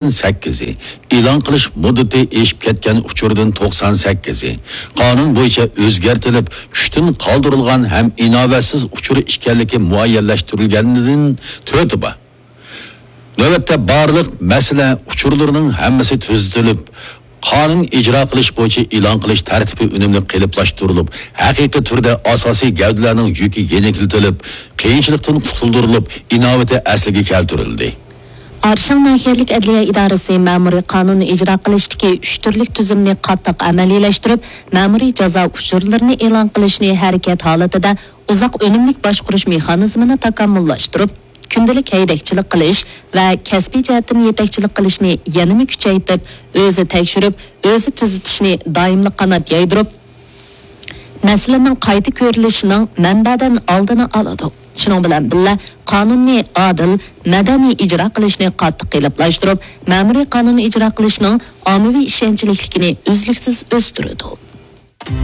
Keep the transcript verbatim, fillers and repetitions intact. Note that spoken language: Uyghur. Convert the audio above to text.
سەككىزى، ئېلان قىلىش مۇددىتى ئېشىپ كەتكەن ئۇچۇردىن توقسان سەككىزى، قانۇن بويىچە ئۆزگەرتىلىپ، كۈچتىن قالدۇرۇلغان ھەم ئىناۋەتسىز ئۇچۇر ئىكەنلىكى مۇئەييەنلەشتۈرۈلگەندىن تۆتى بار. نۆۋەتتە بارلىق مەسىلە ئۇچۇرلىرىنىڭ ھەممىسى تۈزىتىلىپ، قانۇن ئىجرا قىلىش بويىچە ئېلان قىلىش تەرتىپى ئۈنۈملۈك قېلىپلاشتۇرۇلۇپ، ھەقىقىي تۈردە ئاساسىي گەۋدىلەرنىڭ يۈكى يېنىكلىتىلىپ، قىيىنچىلىقتىن قۇتۇلدۇرۇلۇپ، ئىناۋىتى ئەسلىگە كەلتۈرۈلدى. ئارشاڭ ناھىيەلىك ئەدلىيە ئىدارىسى مەمۇرىي قانۇن ئىجرا قىلىشتىكى ئۈچ تۈرلۈك تۈزۈمنى قاتتىق ئەمەلىيلەشتۈرۈپ، مەمۇرىي جازا ئۇچۇرلىرىنى ئېلان قىلىشنى ھەرىكەت ھالىتىدە ئۇزاق ئۈنۈملۈك باشقۇرۇش مېخانىزمىنى تاكامۇللاشتۇرۇپ، كۈندىلىك ھەيدەكچىلىك قىلىش ۋە كەسپىي جەھەتتىن يېتەكچىلىك قىلىشنى يەنىمۇ كۈچەيتىپ، ئۆزى تەكشۈرۈپ، ئۆزى تۈزىتىشنى دائىملىق قانات يايدۇرۇپ، مەسىلىنىڭ قايتا كۆرۈلۈشىنىڭ مەنبەدىن ئالدىنى ئالىدۇ. شۇنىڭ بىلەن بىللە، قانۇننى ئادىل، مەدەنىي ئىجرا قىلىشنى قاتتىق قېلىپلاشتۇرۇپ، مەمۇرىي قانۇن ئىجرا قىلىشنىڭ ئاممىۋى ئىشەنچلىكلىكىنى ئۈزلۈكسىز ئۆستۈرىدۇ.